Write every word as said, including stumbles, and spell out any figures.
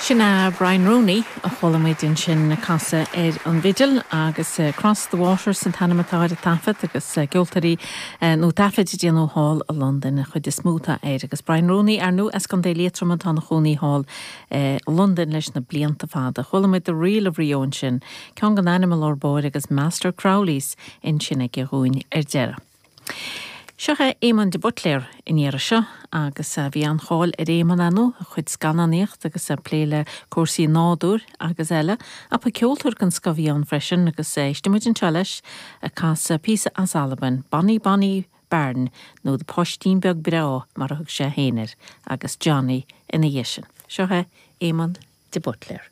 Sin é Brian Rooney a chuala muid ansin ag casadh ar an bhfidil agus uh, Cross the Waters an t-ainm atá ar an taifead agus uh, ceoltóirí uh, nó taifead a déanadh thall i Londain an chuid is mó atá air agus Brian Rooney ar ndóigh as Contae Liatroma atá ina chónaí thall uh, Londain leis na blianta fada. Chuala muid The Reel of Rio ansin, ceann den ainm lár báire agus Master Crowley's ansin aige dhúinn ar deireadh. Seo é Éamon de Buitléar in iar seo agus bhí an-cháil ar Éamon anú a chuid scannánaíocht agus a plé le cúrsaí nádúir agus eile, a ba ceoltóir den scoth a bhí ann freisin agus éistfidh muid anseo leis ag casadh píosa as Albain, Bonnie Bonnie Bairn nó de Poistín Beag Breá mar a thug sé féin air agus Johnny ina dhiaidh sin. Seo é Éamon de Buitléar.